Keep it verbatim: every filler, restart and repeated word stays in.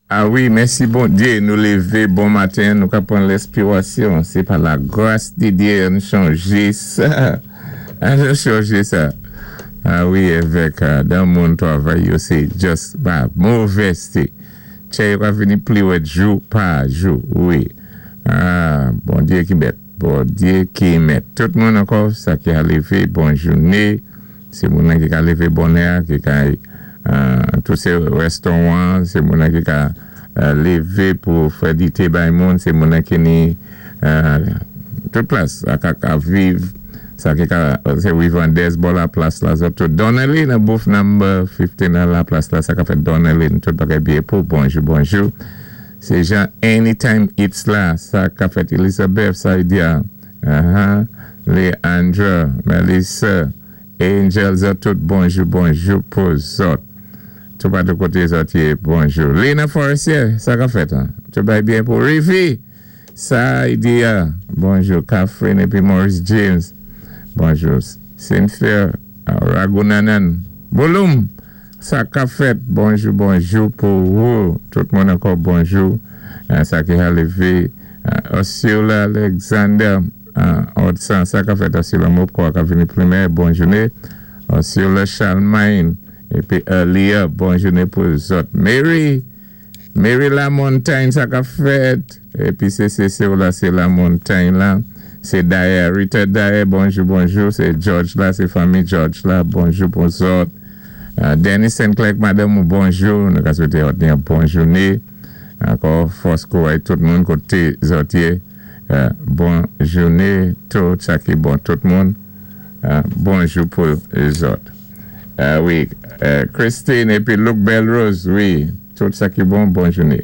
A wi, mèsi Bondyé, nou lévé bon maten, nou ka pran lespirasyon. Sé pa la gras di Dye, ann chanjé sa. Ann chanjé sa. A wi, avèk dan moun twavay yo sé just ba movèzté. Tchè yo ka vini pli wèd jou pa jou, wi. A, Bondyé ki mèt, Bondyé ki mèt. Tout moun ankò, sa ki a lévé, bon jouné. Sé moun ki ka lévé bonè, ki ka tout sé restoran, sé moun ki ka lévé pou fè dité bay moun, sé moun ki ni tout plas, a ka ka viv, sa ki ka, sé Wivandez bò la plas la, zòt tout. Donnelly nan booth number fifteen nan la plas la, sa ka fè Donnelly, tout bagay byen pou, bonjou, bonjou. Sé Jean Anytime It's la, sa ka fèt Elizabeth, Saidia, uh-huh, Leandra, Melissa, Angel, zòt tout, bonjou, bonjou pou zòt. Tout pa de koté zòt yé, bonjou. Lena Forestier, sa ka fèt, tout bay byen pou Rivi, Saidia, bonjou. Catherine épi Maurice James, bonjou. Cynthia Ragunanan, Bouloum, sa ka fèt, bonjou, bonjou pou ou. Tout moun ankò, bonjou. Sa ki a lévé, Ursula Alexander, Odsan, sa ka fèt Ursula Mopko, ka vini primè, bon jouné. Ursula Charlemagne, épi Elia, bon jouné pou zòt. Mary, Mary La Montagne, sa ka fèt. Épi sé sé sé ou la, sé La Montagne la. Sé Daye, Rita Daye, bonjou, bonjou. Sé George la, sé fanmi George la, bonjou pou zòt. Dennis Saint-Clair, madanm, bonjou. Nou ka swété yon bon jouné. Ankò, fòs kouray tout moun koté zòt yé. Bon jouné, tout sa ki bon, tout moun. Bonjou pou zòt. Wi, Christine épi Luc Belrose, wi, tout sa ki bon, bon jouné.